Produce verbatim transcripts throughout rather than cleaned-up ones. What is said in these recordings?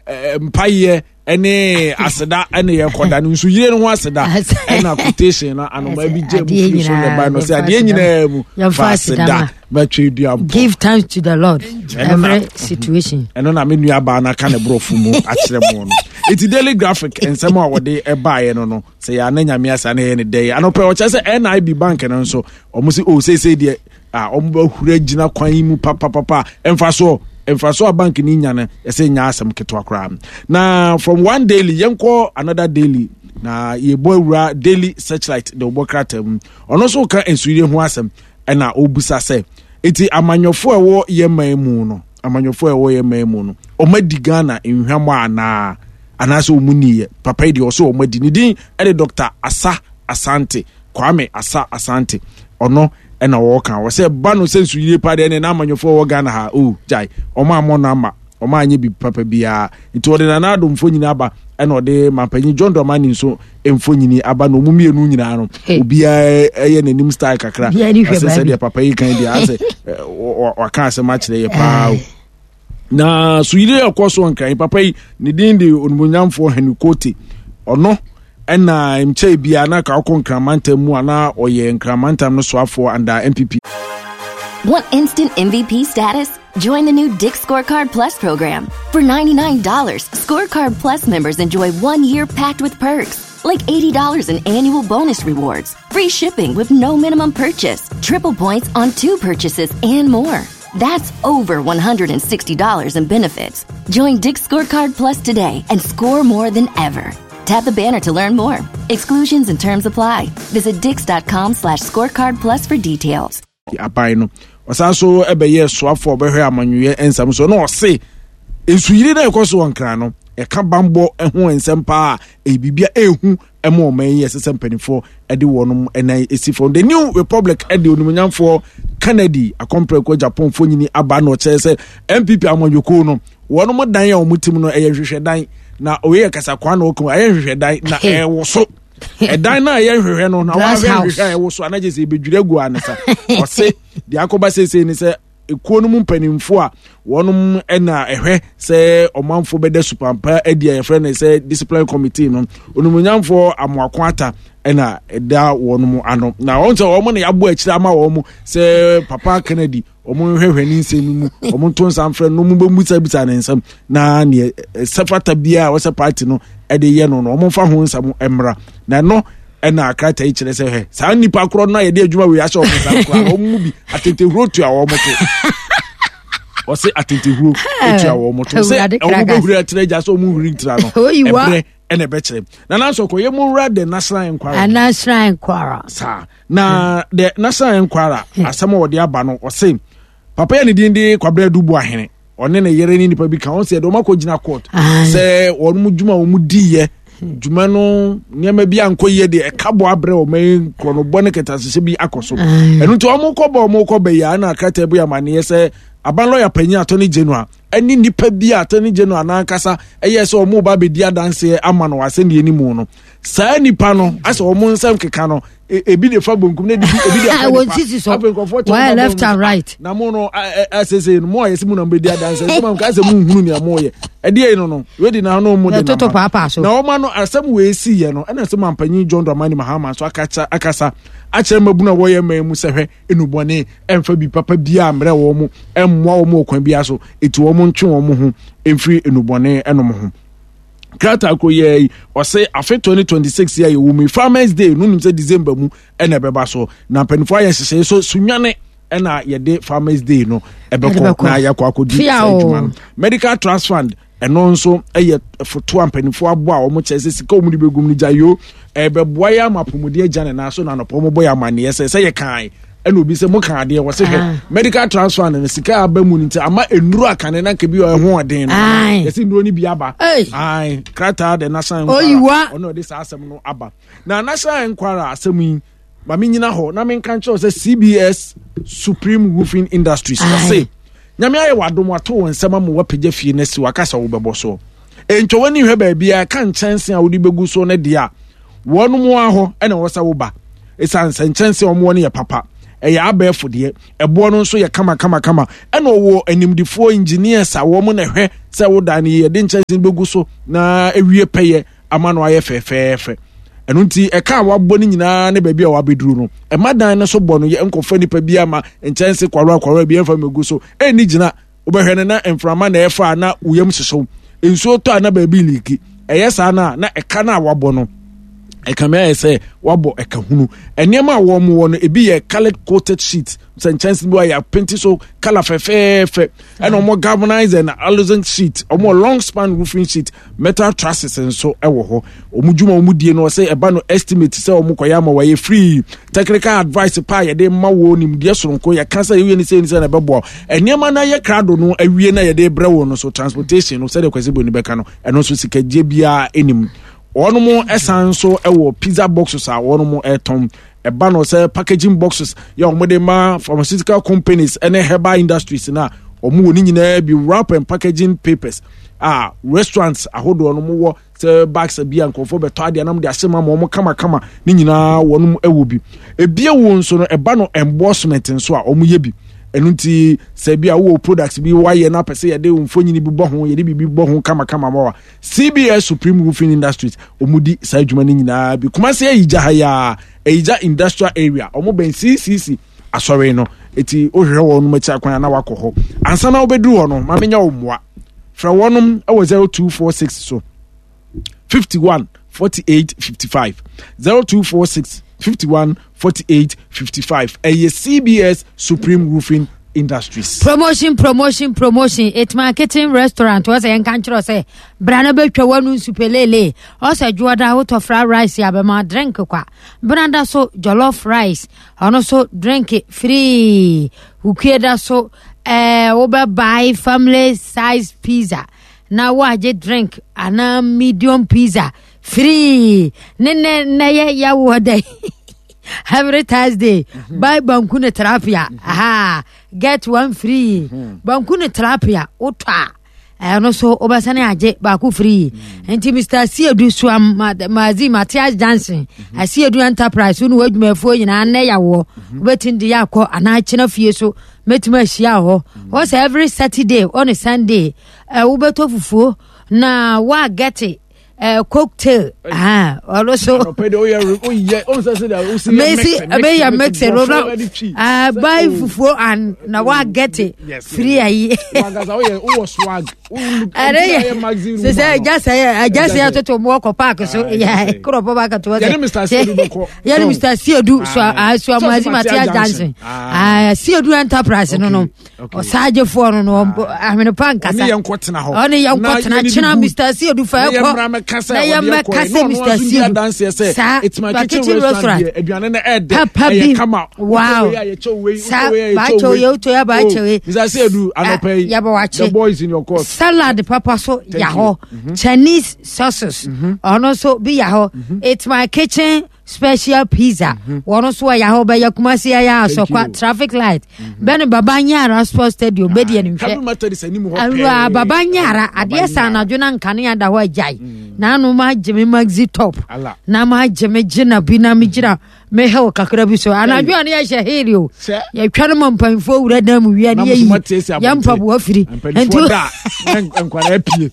eh, mpayɛ ɛne aseda ɛne yɛkɔda no nso yire no ho aseda ɛna quotation no anoma bi gye mu firi so na ɛba no sɛ adeɛ nyinaa mu fa aseda bɛtwe dua mpɔ. Give thanks to the Lord every situation. Ɛno na me nua baa no aka ne borɔfo mu akyerɛ mu no. Eti Daily Graphic nsɛm a wɔde ɛbaeɛ no no sɛ yɛ ana Nyame asa na ɛyɛ ne dɛ anɔpɛ ɔkyerɛ sɛ N I B bank no nso ɔmo sɛ o seesei deɛ a ɔmo bɛhura gyina kwan yi mu papapapa. Ɛmfa soɔ mfa so a bank ni nya no ɛsɛ nya asɛm ketewa koraa. Na from one daily yɛnkɔ another daily na yɛbɔ awura Daily Searchlight de wɔbɔ krataa mu. Ɔno nso ka nsuyire ho asɛm ɛna ɔbusa sɛ eti amanyɔfoɔ a ɛwɔ yɛn man mu no, amanyɔfoɔ a ɛwɔ yɛn man mu no, ɔmo adi Ghana nhwamɔ anaa anaasɛ ɔmo niyɛ papa yi deɛ ɔsɛ ɔmo adi. Ne din ɛde Doctor Asa Asante, Kwame Asa Asante. Ɔno ɛna wɔka wɔ sɛ ba no sɛ nsuyire pa deɛ ne n'amanyɔfoɔ wɔ Ghana ha o gyae ɔmo amɔ no ama ɔmo anyɛ bi papa biara. Nti ɔde Nana Addo mfonyini aba ɛna ɔde mampanyin John Dramani nso mfonyini aba na ɔmo mmienu nyinaa no obiara ɛyɛ n'anim style kakra asɛ sɛdeɛ papa yi kan deɛ asɛ waka asɛm akyerɛ yɛ paa o. Na suyire ɛkɔ so Nkran, papa yi ne din de Onimonyamfoɔ Henry Kote. Ɔno ɛna nkyɛn bia na ka ɔkɔ Nkramantam mu anaa ɔyɛ Nkramantam no soafoɔ under N P P. Want instant M V P status? Join the new Dick's Scorecard Plus program. For ninety-nine dollars Scorecard Plus members enjoy one year packed with perks, like eighty dollars in annual bonus rewards, free shipping with no minimum purchase, triple points on two purchases, and more. That's over one hundred sixty dollars in benefits. Join Dick's Scorecard Plus today and score more than ever. Tap the banner to learn more. Exclusions and terms apply. Visit dicks dot com slash scorecard plus for details. Aban no ɔsan so ɛbɛyɛ soafoɔ a ɔbɛhwɛ amanyɔyɛ nsɛm so na ɔse nsuyiri na ɛkɔ so wɔ Nkran no ɛka bambɔ ho nsɛm paa. Ɛyɛ biribi a ɛɛhu ɛma ɔman yi ɛsɛ sɛ mpanimfoɔ ɛde wɔn ɛnan esi fam. The New Republic ɛde Onimonyamfoɔ Kennedy Akɔmprɛko Japan fonyini aba na ɔkyerɛ sɛ N P P amanyɔkuo no wɔn dan a wɔn tim no ɛyɛ nhwehwɛdan na oyɛ kasakwa na ɔka ɛyɛ nhwehwɛdan na ɛwɔ so ɛdan na ɛyɛ nhwehwɛ no na wahwɛ nhwehwɛ a ɛwɔ so anagye sɛ ebedwiri agu anisa. Ɔse deɛ akɔba seesei ni sɛ ekuo no mu mpanimfoɔ a wɔn na ɛhwɛ sɛ ɔmanfoɔ bɛda supampa adi a yɛfrɛ no sɛ discipline committee no, Onimonyamfoɔ Amoako Ata ɛna ɛda wɔn ano na wɔn sɛ wɔn na yɛabɔ akyire ama wɔn sɛ papa Kennedy wɔn nhwehwɛ ne nsɛm mu, wɔn nto nsa mfrɛ no, wɔn bɛbisabisa ne nsɛm na neɛ sɛfata biara a wɔsɛ party no ɛde yɛ no no wɔn mfa ho nsɛm mmra. Na ɛno ɛna akrataa yi kyerɛ sɛ hɛ saa nipa korɔ no a yɛde adwuma wei ahyɛ wɔn nsa koraa wɔn mu bi atentehuro tua wɔn to. Ɔsɛ atentehuro tua wɔn to sɛ wɔn bɛhuri akyerɛ agya sɛ wɔn huri ntira no ɛbrɛ ɛna ɛbɛkyerɛ. Na nanso kɔ yɛ mu nwura The National Enquirer. National Enquirer. Saa na The National Enquirer asɛm a wɔde aba no, ɔsɛ papa yɛ ne din de Kwabena Dubu Ahene, ɔne ne yere ne nipa bi ka wɔn sɛ ɛde wɔn akɔ gyina court sɛ wɔn mu dwuma wɔn mu di yɛ dwuma no nneɛma bi ankɔ yie deɛ ɛka bɔ abrɛ wɔn yi nkorɔnobɔ ne kɛtɛasehyɛ bi akɔ so. Ɛno nti wɔn kɔ bɔ wɔn kɔ bɛyɛ ana krataa bi amaneɛ sɛ aban lɔya panyin Attorney General ɛne nipa bi a Attorney General n'ankasa ɛyɛ sɛ wɔn ba abɛdi adanseɛ ama no asɛnniɛ no mu no, saa nipa no asɛ wɔn nsɛm keka no ebi de fa bonkum na ebi de afa nifa. Afei nkurɔfoɔ kyɛn left and right. Na mo no asese no mo a yɛsɛ mu na mo bɛdi adanseɛ sɛ mo asɛ mo nhunu nea mo yɛ ɛdeɛ yi no no wedi na ano mo de nam na wɔn ano asɛm wɔ esi yɛ no. Ɛna sɛ mampanyin John Dramani Mahama nso akasa akasa akyerɛ mmabunu a wɔyɛ mman mu sɛ hwɛ enubɔne ɛnfa bi papa biara mmerɛ wɔn mo ɛmmoa wɔn wɔ kwan biara so eti wɔn ntwe wɔn ho mfiri enubɔne ɛnom ho. Krataa koro yɛ yi ɔsɛ afe twenty twenty-six yɛ yɛwɔ mu Farmers Day no nim sɛ December mu ɛna ɛbɛba so na mpanimfoɔ ayɛ nhyehyɛe so Sunwane ɛna yɛde Farmers Day no ɛbɛkɔ na yɛakɔ akɔdi saa adwuma no. Medical Trust Fund ɛno nso ɛyɛ foto a mpanimfoɔ abɔ a wɔn kyerɛ sɛ sika wɔn de bɛgum no gya yoo ɛbɛboa yɛ ama apɔmuden agya ne nan so. Na anɔpɔ wɔn bɔ yɛ amaneɛ sɛ sɛ yɛ kan ɛna obi sɛ mo kan adeɛ wɔ se hwɛ Medical Trust Fund no sika aba mu no nti ama nnuro akane na nka bi ɛho ɔden no yɛsɛ nnuro no bi aba. Ae krataa de National Enquirer ɔno ɔde saa asɛm no aba. Na National Enquirer asɛm yi ma me nyina hɔ na menka nkyerɛw sɛ C B S Supreme Roofing Industries ɔse Nyame ayɛ wadom wato wɔn nsɛm ama wapagya fie no asi waka sɛ wobɛbɔ so ntwa w'ani hwɛ baabiara ka nkyɛnse a wode bɛgu so no deɛ a wɔn mu ahɔ ɛna wɔ sɛ woba ɛsiane sɛ nkyɛnse a wɔn no yɛ papa. Ɛyɛ abɛɛfo deɛ, ɛboɔ no nso yɛ kama kama kama. Ɛna ɔwɔ animdifoɔ engineers a wɔn na ɛhwɛ sɛ wodan no yɛde nkyɛnse bɛgu so na ewie pɛyɛ ama no ayɛ fɛfɛɛfɛ. Ɛno nti ɛka a wabɔ no nyinaa ne baabi a wabɛduru no, ɛma dan no so bɔ no yɛ nkɔfa nipa bi ama nkyɛnse kwaro akwaro bi ɛmfa mɛgu so ɛnni gyina. Wobɛhwɛ no na mframa na ɛfa a na woyam hyehyew, nsuo tɔ a na baabi leak. Ɛyɛ saa no a na ɛka no a wabɔ no ɛkame ayɛ sɛ wabɔ ɛka hunu. Nneɛma a wɔn wɔ no ebi yɛ coloured coated sheet, sɛ nkyɛnse bi wɔ yɛ paint so colour fɛfɛɛfɛ. Ɛna wɔn galvanized and aluzinc sheet, wɔn long span roofing sheet, metal trusses nso ɛwɔ hɔ. Wɔn dwuma wɔn die no, ɔsɛ ɛba no estimate sɛ wɔn kɔyɛ ama wɔyɛ free. Technical advice pa a yɛde ma wɔ nimdeɛ soronko, yɛka sɛ yɛwie ne sɛ ne sɛ na ɛbɛboa nneɛma no ayɛ krado no awie na yɛde brɛ wɔn no so. Transportation no, sɛdeɛ Kwasi Boni bɛka no, ɛno nso sikagye biara anim. Wɔn ɛsan nso ɛwɔ pizza boxes a wɔn ɛtɔn. Ɛba no sɛ packaging boxes yɛ wɔn de ma pharmaceutical companies ɛne herbal industries na wɔn wɔ ne nyinaa bi. Wrap and packaging papers a restaurants ahodoɔ no wɔ sɛ bags bi a nkurɔfoɔ bɛtɔ adeɛ anam de ahyɛ mu ama wɔn kamakama ne nyinaa, wɔn wɔ bi. Ebie wo nso no, ɛba no embossment nso a wɔn yɛ bi. Ɛno nti sɛ bi a wowɔ products bi wayɛ na apɛ sɛ yɛde mfonini bi bɔ ho, yɛde biribi bɔ ho kamakama ma wa, C B S Supreme Roofing Industries wɔn di saa adwuma no nyinaa bi. Kumase Ayigya ha yaa, Ayigya Industrial Area, wɔn bɛn C C C asɔre no. Eti wohwehwɛ wɔn akyi akwan na wakɔ hɔ. Ansa na wobɛduru hɔ no, maame nya wɔn mmoa, frɛ wɔnom wɔ zero two four six so fifty one forty eight fifty five, zero two four six fifty one forty eight fifty five. Ɛyɛ C B S Supreme Roofing Industries. Promotion, promotion, promotion! It's My Kitchen Restaurant. Wɔ sɛ yɛnka nkyerɛ sɛ bra no bɛtwa w'anu nsu pelele. Ɔsɛ dwoɔda wotɔ fried rice abɛma drink kwa, benada so jollof rice, ɔno so drink free. Wukue so ɛɛ wobɛbuy family size pizza na woagye drink anaa medium pizza free. Ne nɛ nɛ yɛ yɛwoɔ dɛ every Thursday mm -hmm. buy banku ne tilapia mm -hmm. Aha, get one free mm -hmm. Banku ne tilapia wotɔ a, ɛno so wobɛsane agye baako free. Nti Mister Siedu Suam Mazi Matias Johnson, Asiedu Enterprise, wo ne w'adwumayɛfoɔ nyinaa, nnɛ yawoɔ wobɛtumi de yɛ akɔ anaa kyena fie so mɛtumi ahyia hɔ. Wɔ sɛ every Saturday ɔne Sunday wobɛtɔ fufuo na woagɛte uh, cocktail, ɔno so mesi meyɛ mix no no uh, buy fufuo and na wa get it free ayi. Ɛne yɛ sɛ ɛgya sɛ ɛgya sɛ yɛtoto mu ɔkɔ park so yɛ korɔpɔ ba katoɔ sɛ yɛne Mister Siedu Suamazi Matias Johnson, Siedu Enterprise no no ɔsaagyefoɔ no no ahwene pa nkasa. Ɔne yɛn nkɔtena hɔ. Ɔne yɛn nkɔtena kyena. Mister Siedu fa ɛkɔ na yɛn mɛka sɛ Mister Siedu saa It's My Kitchen Restaurant, aduane no ɛdɛ. Papa bi, wow, saa baakyɛw yɛ woto yɛ baakyɛw yi. Mister Siedu, anɔpɛ yi yɛbɛ wakye. The boys in your court. Salad papa so ya hɔ, Chinese sauces ɔno nso bi ya hɔ. It's My Kitchen special pizza wɔn nso ɛyɛ hɔ. Bɛyɛ Kumasi ɛyɛ Asɔkwa traffic light bɛne Baba Nyara Sports Stadium bɛdi ɛni hwɛ. Awura Baba Nyara adeɛ sa anadwo na nkanea da hɔ agyae na ano ma agye me maxi top na ma agye me gyina bi na me gyina me hɛw kakra bi so anadwo a ne yɛhyɛ heel o, yɛtwa no ma mpanyinfoɔ wura dan mu wia ne yɛyi yɛn mpaboa firi. Nti nkwadaa pie.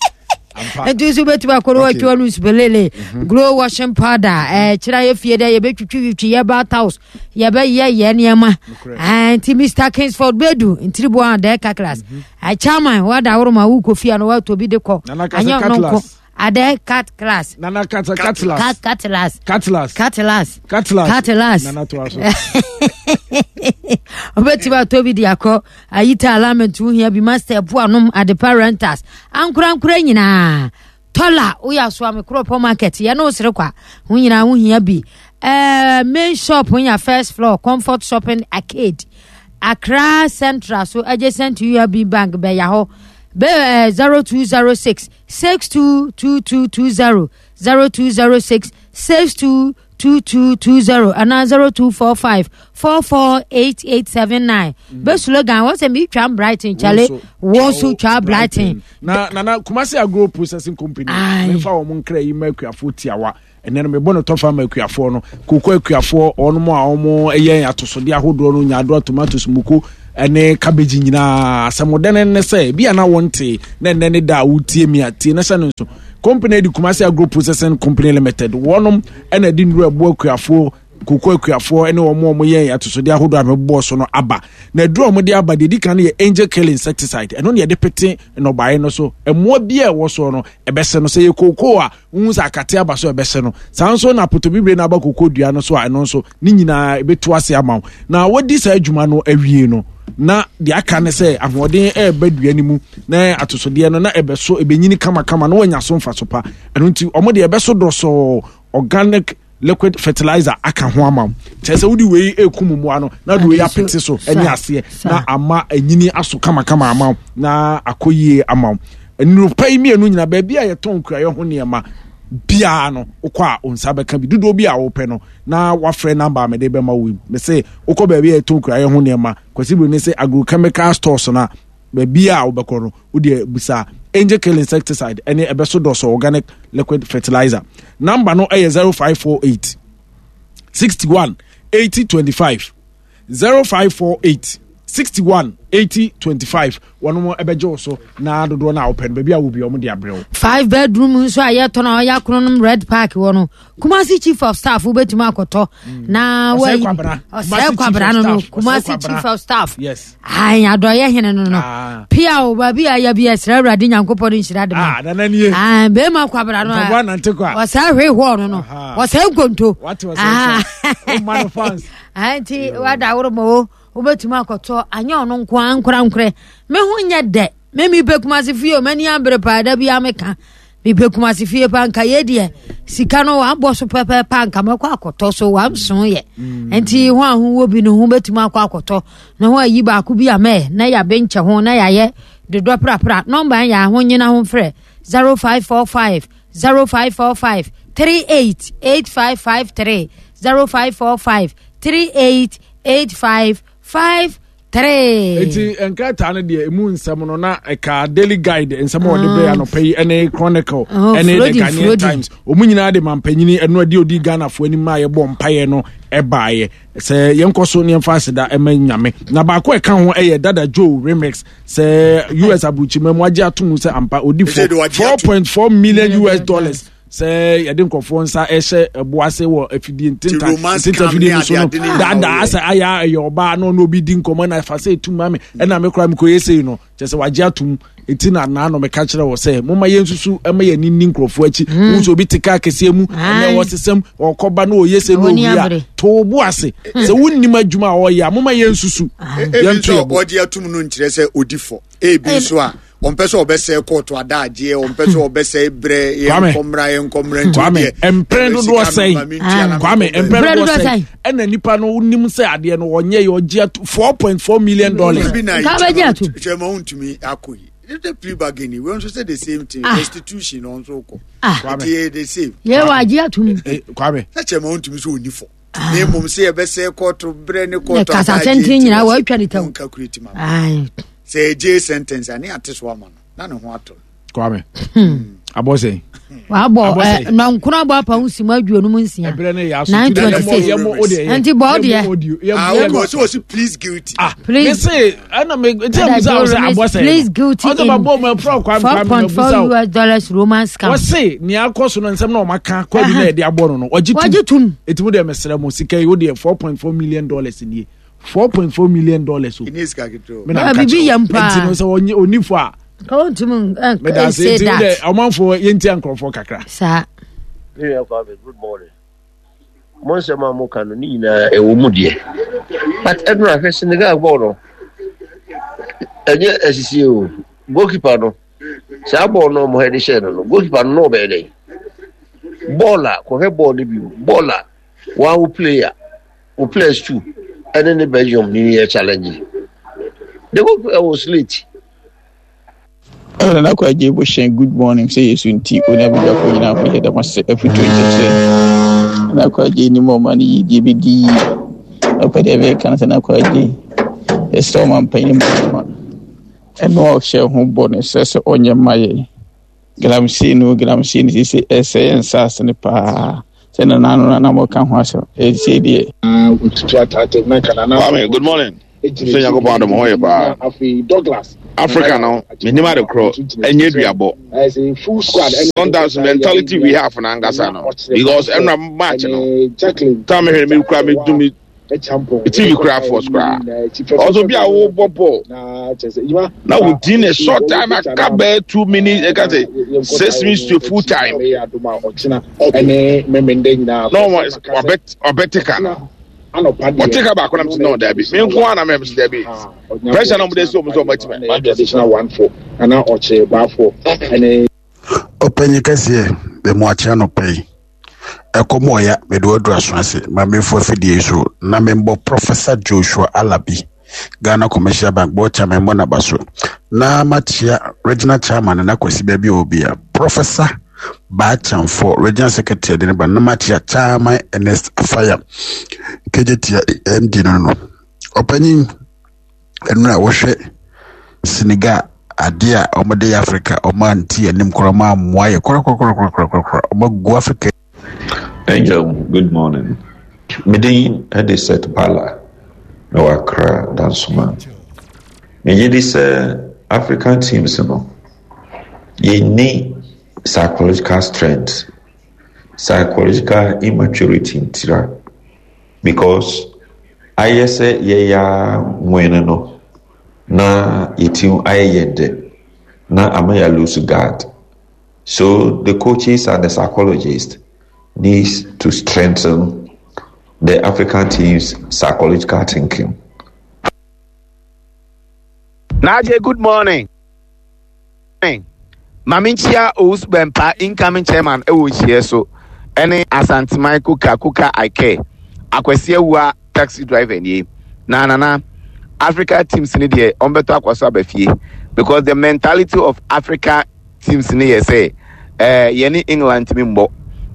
Nti nso wobɛtumi akɔ no watwa no nsupelele glow washing powder ɛkyerɛ yɛ fie dɛ yɛbɛtwitwitwi yɛ bath house, yɛbɛyɛ yɛ nneɛma. Nti Mister Kingsford Bedu Ntiriboa dɛ kakras chairman wada woroma wokɔ fie a no watɔ bi de kɔ anyɛ no nko adɛ cat class. Nana cat Catlas. Cat Catlas. Catlas. Catlas. Catlas. Catlas. Nana to aso. Wobɛtumi atɔ bi de akɔ ayita alignment ho hia bi, master poanom Adepa Renters ankorankora nyinaa tɔla woyɛ asoa me Kuropɔ market yɛne wo sere kwa ho nyinaa ho hia bi. uh, main shop nya first floor, Comfort Shopping Arcade, Accra Central so adjacent to U B Bank bɛya hɔ bɛ zero two zero six six two two two two zero, zero two zero six six two two two two zero anaa zero two four five four four eight eight seven nine. Bɛ slogan wọ́n sɛ mi twa Brighton kyale, wọ́n so twa Brighton. Na nana Kumasi Agro Processing Company mefa wɔn nkira yi ma akuafo tiawa. Ɛnɛ no mebɔ no tɔfa ma akuafoɔ no, koko akuafoɔ ɔnom a ɔmo ɛyɛ atosodeɛ ahodoɔ no, nyaadoa, tomatoes, muko ɛne cabbage nyinaa. Asɛmɔdɛ ne sɛ ebi a na wɔnte na ɛnɛ ne da a wotie mi a tie na hyɛ no nso. Company di Kumasi Agro Processing Company Limited, wɔnom ɛna de nnuro ɛboa akuafoɔ, koko akuafoɔ ɛne wɔn a wɔyɛ atosodeɛ ahodoɔ a mebɔ so no aba. Na aduro a wɔde aba deɛ, di kan no yɛ Angel Kill insecticide. Ɛno na yɛde pete nnɔbaeɛ no so, mmoa bi a ɛwɔ soɔ no ɛbɛsɛ no. Sɛ yɛ koko a wohu sɛ akate aba so, ɛbɛsɛ no. Saa nso na apotobibire no aba koko dua no so a, ɛno nso ne nyinaa ɛbɛtu ase ama wo. Na wɔdi saa adwuma no awie no, na deɛ aka ne sɛ ahoɔden ɛreba dua no mu na atosodeɛ no na ɛbɛso, ɛbɛnyini kamakama na wɔanya so mfa so pa. Ɛno nti ɔmo deɛ ɛbɛso dɔsɔɔ organic liquid fertilizer aka ho ama wo, kyerɛ sɛ wode wei ekum mmoa no na de wei apete so ɛne aseɛ na ama anyini aso kamakama ama wo na akɔ yie ama wo. Nnurupa yi mmienu nyina, baabi a yɛtɔn kuayɛ ho nneɛma biara no, wokɔ a wo nsa bɛka bi dodoɔ bi a wopɛ no, na wafrɛ number a mede bɛma wo yi. Mese wokɔ baabi a yɛtɔn kuayɛ ho nneɛma, Kwasi Buru ne sɛ agrochemical stores no a, baabi a wobɛkɔ no, wodeɛ bisa Angel Kill insecticide ɛne ɛbɛso dɔsɔ organic liquid fertilizer. Number no ɛyɛ zero five four eight sixty-one eighty twenty-five, zero five four eight sixty-one eighty twenty-five. Wɔn ɛbɛgye wo so na dodoɔ no a wopɛ no, baabi a wo bi wɔn de abrɛ wo. Five bedroom nso a yɛtɔ no, ɔyɛ akronom Red Park wɔ no, Kumasi Chief of Staff, wobɛtumi akɔtɔ na Ɔsɛe Kwabena. Ɔsɛe Kwabena no no Kumasi Chief of Staff. Yes. Ayi adɔyɛ hene no no Ah. pia o, baabi a yɛ bi ɛsrɛ Awurade Nyankopɔn no nhyira de ma. Ah, nana nie. Ah, bɛrima Kwabena no. Mpaboa nante kɔ a. Ɔsɛe hwee hɔɔ no no Aha. ɔsɛe nkonto. Wate ɔsɛe Ah. kyɛ. Woma no fans. Ah, nti wada woro ma o, wobɛtumi akɔtɔ. Anyɛ ɔno nko a, nkorankorɛ me ho nyɛ dɛ. Me mepɛ Kumase fie o, m'ani abere paa. Da bia meka mepɛ Kumase fie paa. Nka yɛ deɛ sika no wabɔ so pɛpɛɛpɛ, nka mɛkɔ akɔtɔ so wamso yɛ. Nti ho a ho wɔ bi no ho bɛtumi akɔ akɔtɔ na ho ayi baako bi amɛ na yɛabe nkyɛ ho na yɛayɛ dodɔ prapra. Number yɛ aho nyina ho frɛ zero five four five zero five four five three eight eight five five three, zero five four five three eight eight five five three. Eti nkrataa no deɛ, emu nsɛm no na ɛka Daily Guide nsɛm a wɔde brɛ anɔpɛ yi ɛne Chronicle Oh, ɛne The Frodi, Ghanaian Frodi. Times. Wɔn nyinaa de mampanyini ɛno adi odi Ghanafoɔ anim a yɛbɔ mpaeɛ no ɛbaeɛ sɛ yɛnkɔ so ne yɛmfa aseda ɛma Nyame. Na baako a ɛka ho ɛyɛ Dada Joe Remix, sɛ U S aburukyima mu agye ato mu sɛ ampa odi Ɛsɛ de wagye four ato. point four million U S dollars sɛ yɛde nkurɔfoɔ nsa ɛhyɛ ɛbo ase wɔ afidie ntenta romance ntenta scam afidie ne no so no. ade ade ne nyinaa Daadaa wɔyɛ. sɛ ayɛ ɛyɛ ɔbaa na ɔne obi di nkɔmmɔ na fa sɛ etum ma me ɛna me koraa mekɔyɛ sei no, kyerɛ sɛ wagye atom. Eti na naa no meka kyerɛ wɔ sɛ momma yɛnsusu ɛma yɛn ani ni nkurɔfoɔ akyi. Wohu sɛ obi te kaa kɛseɛ mu ɛnɛ Aye. wɔsesɛm ɔkɔba na ɔyɛ sɛ na Wɔni owie a abere. to bo ase sɛ wonnim adwuma a ɔyɛ a, momma yɛnsusu Ebi yɛnto nso yɛ bo. ɔgye atum no nkyerɛ sɛ odi fɔ. Ebi nso a ɔmpɛ sɛ ɔbɛsɛe kɔɔto adagyeɛ, ɔmpɛ sɛ ɔbɛsɛe berɛ. Kwame. Yɛnkɔmmra, yɛnkɔmmra nti Kwame, wodeɛ, mpɛn ɛbɛ dodoɔ sika no sɛn? ma mentua na Kwame, menkɔ mpɛn Mpɛn dodoɔ dodoɔ sɛn sɛn? Ɛna nipa no wonim sɛ adeɛ no ɔnyɛ yɛ, ɔgye ato four point four million dollars. Ebi na Nka bɛgye ato. Kyerɛma wontumi akɔ yi the plea bargain yi, wei nso sɛ the same thing. Ah. Restitution no nso kɔ. Ah. Nti yɛ the same. Yɛ wɔ agye atom. Eh, Kwame. Sɛ kyerɛma wontumi sɛ ɔni fɔ, na mmom sɛ yɛbɛsɛe kɔɔto berɛ ne kɔɔto kasa adagyeɛ tenten nti nyinaa wɔsɛ wɔatwa ne tam. wɔnka ma Aye. sɛ ɛgye sentence a ne ate so ama no na ne ho atɔ no. Kwame, abɔ sɛn? Wabɔ. Abɔ sɛn? Ɛ, nɔnkono abɔ apa ho si mu aduonum nsia. Ɛberɛ no yɛ aso. Nine Nti na twenty six. yɛmmɔ- yɛmmɔ o deɛ yɛ- Nti bɔ o deɛ. yɛmmɔ audio, yɛmmɔ- Ah, yɛmmɔ- okay, ɔsɛ ɔsi pleas guilty. Ah, Please. me se ɛna me nti Dada a bisa wo Joe sɛ abɔ Remix sɛn pleas guilty ɔsɛ in ma bɔ mu ɛfrɛ Kwame, four Kwame point ma four bisa wo. U S dollars romance scam. Wɔse nea akɔ so no, nsɛm na ɔmaka kwadu na yɛde abɔ no no ɔgye Wɔgye tum. tum. Ɛti mu deɛ, mesrɛ mo, sika yi wo deɛ four point four million dollars nie, four point four million dollars o. Ɛnyɛ sika ketewa o. Me na Ah, nka biribi kyerɛ wo. yam paa. Nti no sɛ ɔnyɛ onifo a Ka wontumi meda ase. say Nti wo deɛ, that. ɔmanfoɔ, yɛntia nkurɔfoɔ kakra. Saa. Me Kwame, good morning. Mo nsɛm a moka no ne nyinaa ɛwɔ mu deɛ, but ɛno ahwɛ Senegal bɔɔl no, ɛnyɛ asisie o. Goalkeeper no, saa bɔɔl no ɔmo hɛde hyɛɛ no no goalkeeper no na ɔbɛyɛ dɛn? Bɔɔl a kɔhwɛ bɔɔl no bio, bɔɔl a wɔn wo player wo players two ɛne ne Belgium ne yɛ challenge, the goalkeeper was late. Ɛna na kɔ agye bɔ hyɛn. Good morning. Sɛ Yesu nti onye abadwafo nyinaa ho yɛ dɛm ase afutuo nkyerɛkyerɛ na kɔ agye nim ɔma no yie deɛ bɛdi yie. Ɔpɛ deɛ ɛbɛyɛ ka no sɛ na kɔ agye ɛsrɛ ɔma mpanyin mu ma ɛno a ɔhyɛ ho bɔ no sɛ sɛ ɔnyɛ mma yɛ galamsey no. Galamsey no sɛ ɛsɛ yɛn nsaase no paa. Sɛ nana no na mo ka ho asɛm ɛsɛ deɛ. Kwame, good morning. Sɛ Nyankopɔn adom ho yɛ paa. Africa no, menim ade korɔ, ɛnyɛ duabɔ. Sometimes mentality we have na ankasa no, because ɛnura match no, time mehwɛ me kura me du me T V kura force kura. Also bi a wobɔ ball na within a short time aka bɛyɛ two minutes, ɛka sɛ six minutes to full time. Na wɔn ɔbɛ ka no, ɔte ka baako nam sɛ no, dabi, me nko ara na mɛ sɛ dabi, pressure na ɔmo de si ɔmo sɛ ɔmo akyi mɛ. Ɔpanyin kɛseɛ, bɛmu akye anɔpa yi. Ɛkɔm ɔya mede waduru aso ase ma mefo afidie yi so na membɔ Professor Joshua Alabi, Ghana Commercial Bank board chairman, mmɔ n'aba so na makyia regional chairman Nana Kwasi baabi a ɔwɔ bia, Professor Baachamfo, regional secretary de ne ba, na makyia Chairman Ernest Afaya K J T M D no no Ɔpanyin, ɛno a wɔhwɛ Senegal adeɛ a wɔde yɛ Africa, wɔn ante anim koraa, wɔn amoa yɛ korakorakorakorakora, wɔn agu Africa. Angel, good morning. Me din de Seth Bala na wɔ Accra Dansoma. Megye di sɛ African teams no, yɛnni psychological strength, psychological immaturity ntira, because ayɛ sɛ yɛyɛ nwene no na yɛti ayɛ yɛn dɛ na ama yɛ lose guard. So the coaches and the psychologists needs to strengthen the African team's psychological thinking. Naje, good morning. Maame nkyia Owusu Bɛmpa, incoming chairman ɛwɔ nhyia so, ɛne Asanteman Kuka Kuka Ike Akwasi Awua, taxi driver nie. Na nana, Africa teams ni deɛ, ɔmbɛtɔ akɔ so aba fie, because the mentality of Africa teams ni yɛ sɛ ɛɛ yɛne England ntumi mbɔ,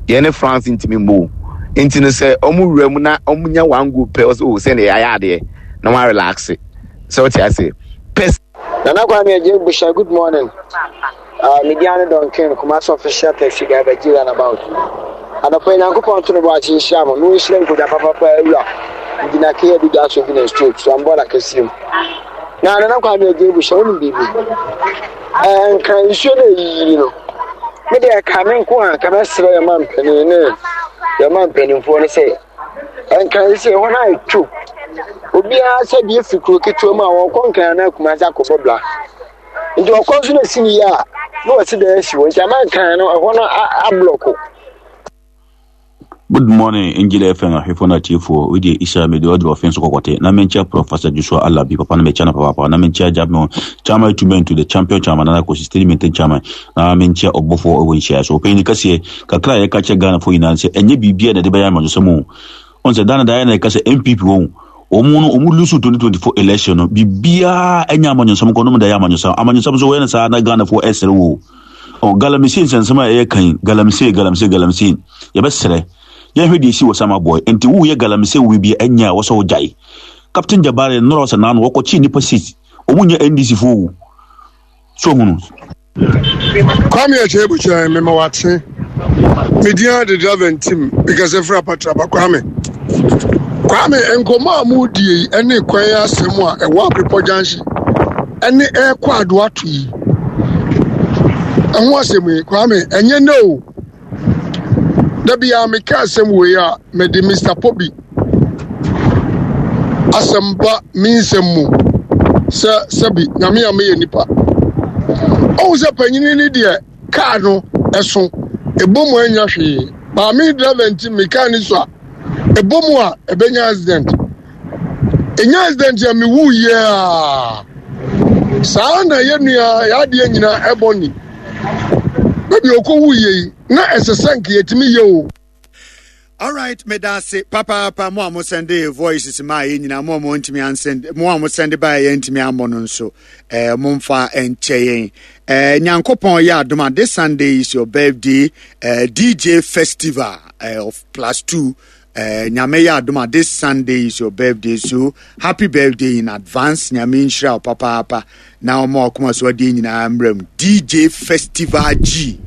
yɛne France ntumi mbɔ o. Nti no sɛ ɔmo wura mu na ɔmo nya one goal pɛ, ɔsɛ o sɛ ne yɛayɛ adeɛ na wɔn relax sɛ ɔte ase pɛ. Nana Kwame Agye Busha, good morning. Uh, Mediano Duncan, Kumasi official taxi driver, G roundabout. Anɔpa yi, Nyankopɔn to no bɔ akye nhyira mo. Na ɔnhyira nkogya papapa awura. Gyina kea bi da so bi na stroke so ambɔla kɛseɛ mu. Na Nana Kwame Agye Busha, wonim biribi? Eh, nka nsuo no ɛyiyiri no. Me deɛ, ka me nko a, ka mɛsrɛ yɛ ma mpanin ne yɛ ma mpanimfoɔ no sɛ nka sɛ hɔ no ayɛ two, obiara sɛ deɛ fi kuro ketewa mu a wɔkɔ Nkran na Kumase akɔbɔ bla, nti ɔkɔ nso na si ne yie a na wɔsi dan asi hɔ, nti ama Nkran no ɛhɔ no ablɔko. Good morning, Angel F M ahwɛfoɔ no atiefoɔ. Wei Isa mede ɔduru ɔfe nso kɔkɔte na menkyia Professor Joshua Alabi papa no, mekyia no papaapa, na menkyia Jabmo chairman to the champion chairman Nana Kwasi steady maintain chairman, na menkyia ɔbɔfoɔ ɛwɔ nhyia so. Ɔpanyin kɛseɛ kakra a yɛka kyerɛ Ghanafoɔ nyinaa sɛ ɛnyɛ biribiara na ɛde bɛyɛ amanyɔsɛm o. Ɔn sɛ dana daeɛ na yɛka sɛ N P P wɔn wɔn no wɔn lose twenty twenty-four election no, biribiara ɛnyɛ amanyɔsɛm kɔ nom da yɛ amanyɔsɛm. Amanyɔsɛm so wɔyɛ no saa na Ghanafoɔ ɛsere wo ɔ galamsey nsɛnsɛm a ɛyɛ kan galamsey, galamsey, galamsey. Yɛbɛsrɛ yɛhwɛ deɛ esi wɔ sama boy nti woyɛ galamsey wo bi ɛnyɛ a wɔsɛ wogyae. Captain Jabare nnora sɛ naano wɔkɔkye nipa six, ɔmo nyɛ N D C fo o, so hunu. Kwame Akyɛ Bukyɛ, mema wakye. Medin de driver ntim because ɛfiri Apatraba. Kwame, Kwame, nkɔmmɔ a modie yi ɛne kwan asɛm a ɛwɔ Aprepɔ Junction ɛne ɛrekɔ Adoato yi ɛho asɛm yi, Kwame, ɛnyɛ nɛ o. Da biara meka asɛm wei a mede Mister Pobi asɛm ba me nsɛm mu sɛ sɛbi Nyame a meyɛ nipa ɔhu sɛ panyini ne deɛ kaa no ɛso ɛbɔ mu anya hwee. Maame driver nti me kaa ni so a ɛbɔ mu a ɛbɛnya accident, ɛnya accident a mewu yie a saa na yɛ nua yɛadeɛ nyinaa ɛbɔ ni baabi ɔkɔwu yie yi na ɛsɛ sɛ nka yɛtumi yɛ o. Alright, medase papaapa. Mo a mo send voices ma yɛ nyinaa, mo a mo ntumi ansend, mo a mo send ba yɛ ntumi ammɔ no nso, eh, momfa nkyɛ yɛn. eh, Nyankopɔn yɛ adom a, this Sunday is your birthday, eh, D J Festival eh, of Plus Two. eh, Nyame yɛ adom a, this Sunday is your birthday, so happy birthday in advance. Nyame nhyira wo papaapa na ɔma ɔkoma so adeɛ nyinaa mmerɛ mu. D J Festival G,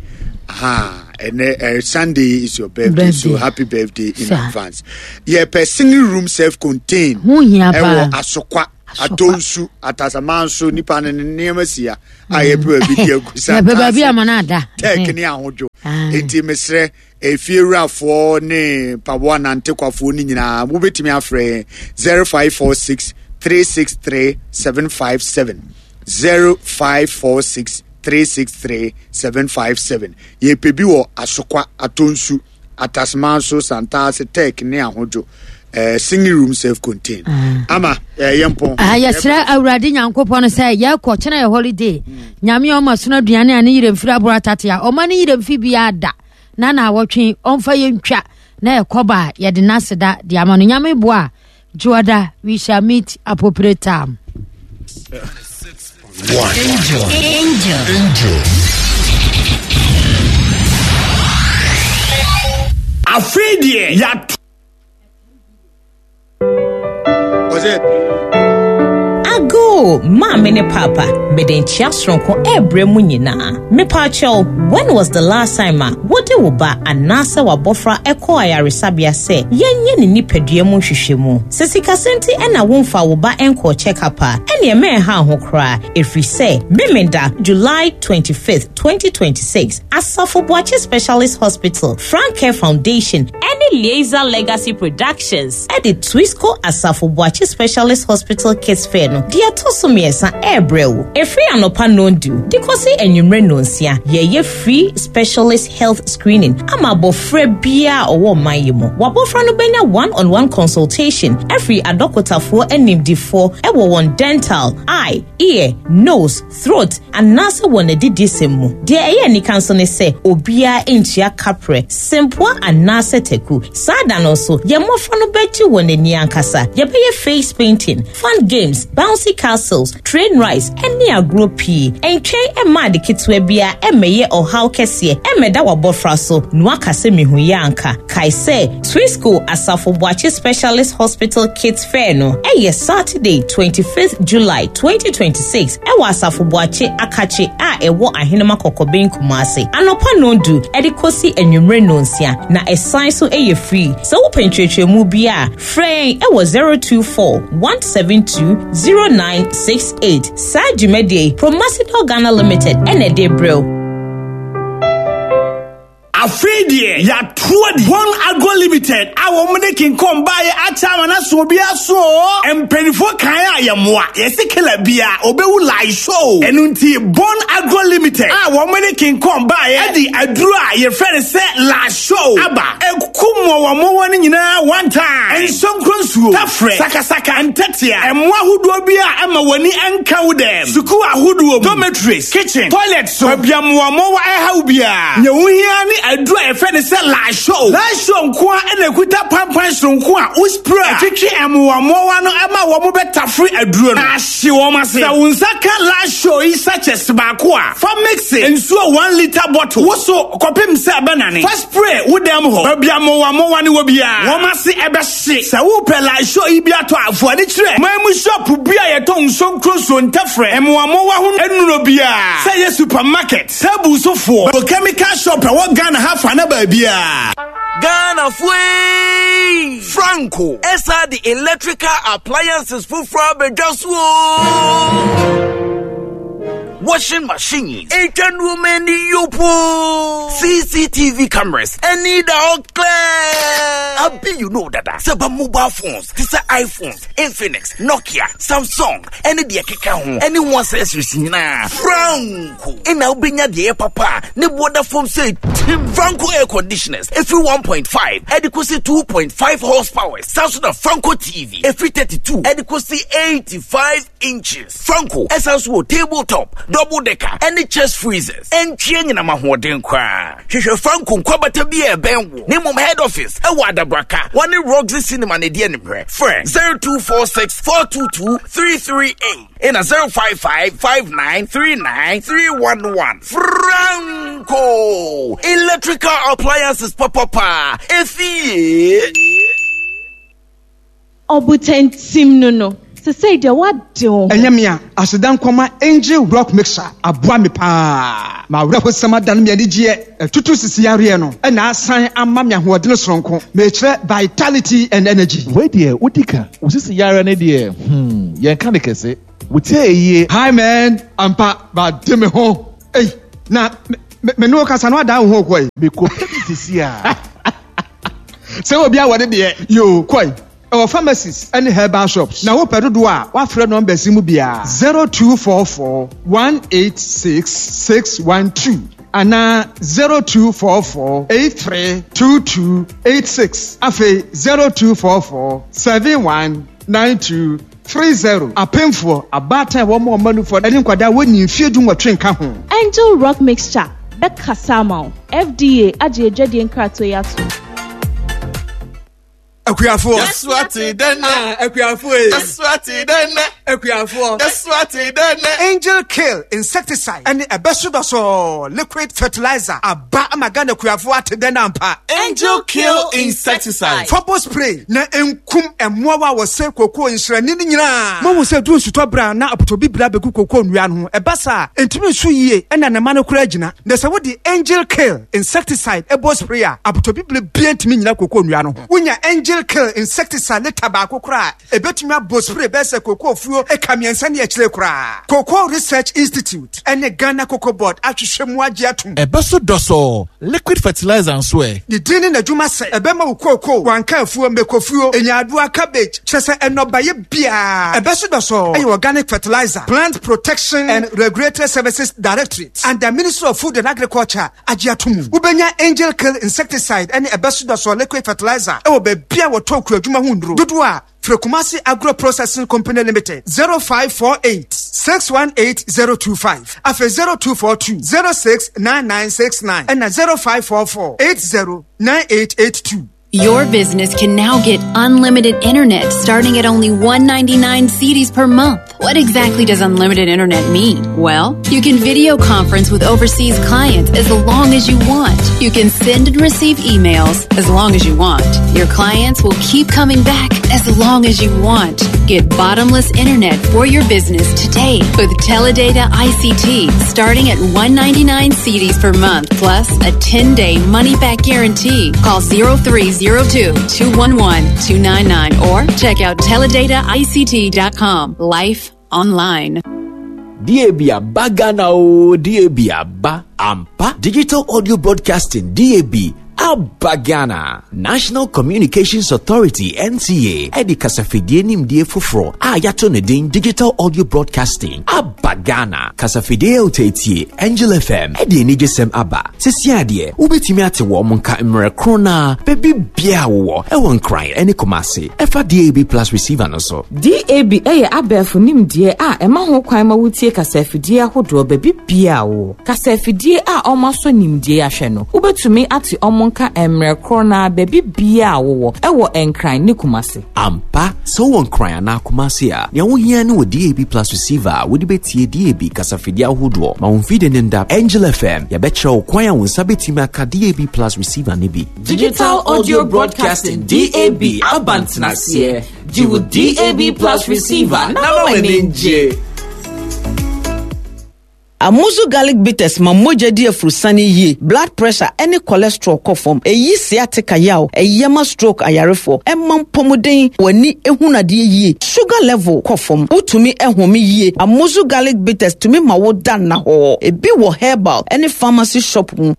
aha. ɛnɛ uh, Sunday is your birthday, birthday. So happy birthday in Sir. advance. Yɛpɛ single room self contained ɛwɔ Asokwa, Atonsu, Atasamanso, nipa ne nneɛma si a a yɛpɛ baabi di agu sa yɛpɛ baabi ama no ada tɛk ne ahodwo. Enti mesrɛ efiewurafoɔ ne mpaboa nantekwafoɔ no nyinaa mobɛtumi afrɛ yɛn zero five four six three six three seven five seven zero five four six three six three seven five seven. Yɛpɛ bi wɔ Asokwa, Atonsu, Atasmanso, Santaase, Tech ne Ahodwo. Uh, single room self contained. Mm. Ama eh yɛmpɔn. Ah, yɛsrɛ Awurade Nyankopɔn sɛ yɛkɔ kyena yɛ holiday. Nyame ɔma sono aduane a ne yerɛ mfiri aboro atate a ɔma ne yerɛ mfi biara da. Na na awɔtwe ɔmfa yɛntwa na yɛkɔba a yɛde n'aseda de ama no. Nyame boa Juada, we shall meet appropriate time. One. Angel. Angel. Angel. Afidie yat. Was it? Ago, maame ne papa, mede nkyia soronko ɛbrɛ mu nyinaa. Mepa when was the last time a wode wo ba anaasɛ wabɔfra ɛkɔ ayaresabea sɛ yɛnyɛ ne nipadua mu nhwehwɛmu? Sɛ sikasɛm nti ɛna womfa wo ba ɛnkɔ check-up a, ɛneɛ mɛnha ho koraa, ɛfiri sɛ Memenda July twenty-fifth, twenty twenty-six, Asafo Boakye Specialist Hospital, Frank Care Foundation, ɛne Liaison Legacy Productions ɛde Twisco Asafo Boakye Specialist Hospital Kids Fair no deɛ ɛtɔ so mmiɛnsa ɛrebrɛ wo. Ɛfiri anɔpa nondu de kɔsi anwummerɛ nonsia, yɛyɛ free specialist health screening ama abɔfra biara ɔwɔ ɔman yi mu. Wabɔfra no bɛnya one-on-one consultation ɛfiri adɔkotafoɔ animdifoɔ ɛwɔ wɔn dental, eye, ear, nose, throat, anaasɛ wɔn adidisɛm mu. Deɛ ɛyɛ anika nso ne sɛ obiara ntua kaprɛ, sempoa anaasɛ taku. Saa da no nso, yɛn mmɔfra no bɛgye wɔn ani ankasa. Yɛbɛyɛ face painting, fun games, bouncy castles, train rides, ɛne agorɔ pii. Ɛntwɛn ɛma ade ketewa biara ɛmmɛyɛ ɔhaw kɛseɛ ɛmmɛda w'abɔfra so na waka sɛ mehu yɛ anka. Kae sɛ Twisco Asafo Boakye Specialist Hospital Kids Fair no ɛyɛ Saturday twenty-fifth July twenty twenty-six ɛwɔ Asafo Boakye Akakye a ɛwɔ Ahenema Kɔkɔbɛn Kumase. Anɔpa nondu ɛde kɔsi anwummerɛ nonsia na ɛsan so ɛyɛ free. Sɛ wopɛ nkyerɛkyerɛmu bi a, frɛ yɛn ɛwɔ zero two four one seven two zero nine six eight. Saa dwumadie Promasidor Ghana Limited ɛna ɛde brɛ wo. Afidie yàtúwọ́ di. One Agro Limited a wɔn de kinkɔn baayɛ akyɛ ama na so obi aso. Mpanyinfoɔ kan a yɛ mmoa yɛsi kela bia obewu lai show. Ɛnu nti Bon Agro Limited a wɔn de kinkɔn baayɛ ɛdi aduro a yɛfrɛ no sɛ la show aba ekum wɔn wɔn nyinaa one time. Nsonkron nsuo tafrɛ sakasaka ntɛtea ɛmoa ahodoɔ bi a ɛma wɔn ani nka wo dɛm. Sukuu ahodoɔ dormitories, kitchen, toilet so baabi a mmoamoa ɛhaw biara. Nyɛ wo hia ne aduro a yɛfrɛ no sɛ la show. La show nko a ɛna ekuta pampan soronko a wospray a ɛtwitwi mmoamoa no ɛma wɔn bɛtafere aduro no. Na ahye wɔn ase. Sɛ wo nsa ka la show yi sachets baako a, fa mix nsuo one litre bottle. Woso kɔpem sɛ ɛbɛnane. Fa spray wo dɛm hɔ. Baabi a mmoamoa no wɔ biara, wɔn ase ɛbɛhye. Sɛ wopɛ la show yi bi atɔ a, fo ani kyerɛ man mu shop bi a yɛtɔn nsonkron so ntɛfrɛ mmoamoa ho nnuro biara. Sɛ yɛ supermarket, table sofoɔ, chemical shop ɛwɔ Ghana ha fa na baabia. Ghana fue Franco esa the electrical appliances fufra bejasu. Washing machines, many yopo, C C T V cameras, any the clear. Abi you know that seba mobile phones, these are iPhones, Infinix, Nokia, Samsung, any the keka ho, any one accessories na Franco. Ena ubenya the papa, ne border phone say Tim Franco air conditioners, every one point five, adequacy two point five horsepower, Samsung Franco T V, every thirty-two, adequacy eighty-five inches. Franco, essence tabletop, double decker, any chest freezers, and chain in a mahodin kwa. Shisha Franco Kwabata be a ben. Name of head office, Awada Braka, one in Roxy Cinema Nedian, Friend zero two four six four two two three three eight in a zero five five five nine three nine three one one. Franco Electrical Appliances Papa If Obutentim no no. Sesei deɛ woade wo ho. Ɛnyɛ me a, aseda nkɔma Angel Rock Mixer aboa me paa. M'awerɛhosɛm adane me anigyeɛ. Ɛtutu sisi yareɛ no ɛna asan ama me ahoɔden soronko. Mekyerɛ vitality and energy. Wei deɛ wodi ka. Wo sisi yareɛ no deɛ, hmm, yɛnka ne kɛse. Wotie yie. Hi man, ampa, made me ho. Ei, na me me ne wo kasa no adan wo ho kɔe. Mekɔpɛ bi sisi a. Sɛ obi awɔ ne deɛ, yoo, kɔe. Ɛwɔ pharmacies ne herbal shops. Na wopɛ dodoɔ a, woafrɛ numbers yi mu biara, zero two four four one eight six six one two anaa zero two four four eight three two two eight six, afei zero two four four seven one nine two three zero. Apemfoɔ, abaatan a wɔma wɔn mma nufoɔ ne nkwadaa a wɔnnii mfeɛ du nwɔtwe nka ho. Angel Rock Mixture bɛkasa ama wo. F D A agye adwadie nkratoɔ yi atom. Akuafoɔ. Yɛso ate dɛ nɛ. Ah, akuafoɔ yi. Yɛso ate dɛ nɛ. Akuafoɔ. Yɛso ate dɛ nɛ. Angel Kill insecticide ɛne ɛbɛso dɔsɔɔ liquid fertilizer aba ama Ghana akuafoɔ ate dɛ nɛ ampa. Angel Kill insecticide. Fɔbɔ spray na nkum mmoawa a wɔsɛe kookoo nsrani no nyinaa. Mohu sɛ duru nsutɔ bere a na apotobibire abɛgu kookoo nnua no ho. Ɛba saa a, ɛntumi nso yie ɛna ne mma no koraa gyina. Na sɛ wode Angel Kill insecticide ɛbɔ spray a, apotobibire biara ntumi nnyina kookoo nnua no ho. Wonya Angel Kill insecticide lita baako koraa a, ɛbɛtumi abɔ spray bɛyɛ sɛ kookoo fuo eka mmiɛnsa ne akyire koraa. Cocoa Research Institute ɛne Ghana Cocoa Board ahwehwɛ mu agye atom. Ɛbɛso dɔsɔɔ liquid fertilizer nso ɛ. Ne din ne n'adwuma sɛ ɛbɛma wo kookoo, wanka afuo, mmekofuo, nyaadoa, cabbage, kyerɛ sɛ nnɔbaeɛ biara. Ɛbɛso dɔsɔɔ ɛyɛ organic fertilizer, Plant Protection and Regulatory Services Directorate and the Ministry of Food and Agriculture agye ato mu. Wobɛnya Angel Kill insecticide ɛne ɛbɛso dɔsɔɔ liquid fertilizer ɛwɔ baabi a wɔtɔn kuadwuma ho nnuro dodoɔ a frɛ Kumasi Agro Processing Company Limited zero five four eight six one eight zero two five afei zero two four two zero six nine nine six nine ɛna zero five four four eight zero nine eight eight two. Your business can now get unlimited internet starting at only one ninety-nine cedis per month. What exactly does unlimited internet mean? Well, you can video conference with overseas clients as long as you want. You can send and receive emails as long as you want. Your clients will keep coming back as long as you want. Get bottomless internet for your business today with Teledata I C T starting at one ninety-nine cedis per month plus a ten-day money-back guarantee. Call zero three zero two, two one one, two nine nine or check out teledata I C T dot com. Life online. D A B aba Ghana o, D A B aba ampa. Digital Audio Broadcasting D A B aba Ghana. National Communications Authority N C A ɛde kasafidie nimdie foforɔ a yɛato ne din Digital Audio Broadcasting aba Ghana. Kasafidie a woteetie Angel F M ɛde anigyesɛm aba. Sisi adeɛ wobɛtumi ate wɔn mo nka mmerɛ koro na baabi biara wowɔ ɛwɔ Nkran ɛne Kumasi ɛfa D A B Plus receiver no so. D A B ɛyɛ abɛɛfo nimdeɛ a ɛma ho kwan ma wotie kasafidie ahodoɔ baabi biara wowɔ. Kasafidie a ɔmo asɔ nimdeɛ ahwɛ no, wobɛtumi ate ɔmo nka mmerɛ koro na baabi biara wowɔ ɛwɔ Nkran ne Kumasi. Ampa, sɛ wowɔ Nkran anaa Kumasi a, nea wohia ne wɔ D A B Plus receiver a wode bɛtie D A B kasafidie ahodoɔ ma wo mfidie ne nda. Angel F M, yɛbɛkyerɛ wo kwan a wo nsa bɛtumi aka D A B Plus receiver ne bi. Digital Audio Broadcasting D A B abantenaseɛ. Gye wo D A B Plus receiver na ma w'ani ngye. Amuzu garlic bitters ma mogya di afurusane yie, blood pressure ɛne cholesterol kɔ fam, eyi sciatica yaw, ɛyɛ ma stroke ayarefoɔ, ɛma mpɔmuden, w'ani ehunu adeɛ yie, sugar level kɔ fam, wotumi ɛhome yie. Amuzu garlic bitters tumi ma wo da nna hɔ. Ebi wɔ herbal ɛne pharmacy shop mu.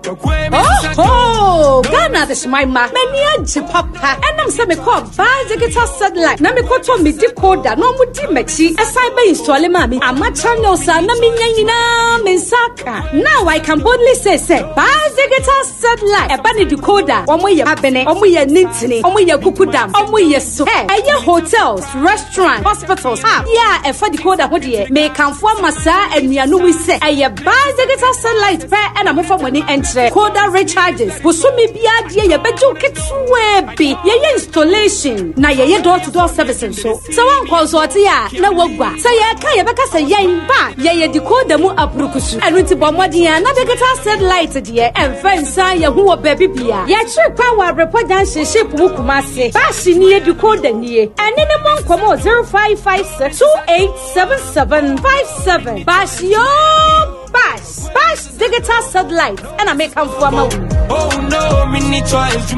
Oh, oh, Ghana this my ma. Many a papa. And I'm saying, call buy digital satellite. Na me koto me decoder. No mu di mechi. A cyber install mami. Ama channel sa na me nyina me saka. Now I can boldly say say buy digital satellite. E ba ni decoder. Omo ye abene. Omo ye nintini. Omo ye kukudam. Omo ye so. Hey, eye hotels, restaurant, hospitals. Ah, yeah, e fa decoder ho de. Me kanfo amasa enuanu se. Eye buy digital satellite pe e na mo fa money enter. Coda recharges. Bosome bia die ye bejo ketwe bi. Ye ye installation na ye ye door to door service so. So wan consult ya na wagwa. So ye ka ye beka se ye ba ye ye decoder mu aprukusu. Enu ti bo modin ya na digital satellite die emfa Yɛmfa nsa yɛ ho wɔ baabi bia. Yɛkyerɛ kwan wɔ Abrepɔ Junction ship mu Kumase. Baahye nie decoder nie. Ɛne ne mmɔ nkɔmmɔ zero five five six two eight seven seven five seven. Baahye yoo Bash Bash digital satellite ɛna mekamfo ama wo. Oh no, me need choice.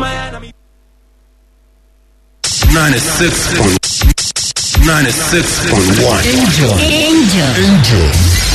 Ninety-six point ninety-six point one. Angel. Angel. Angel.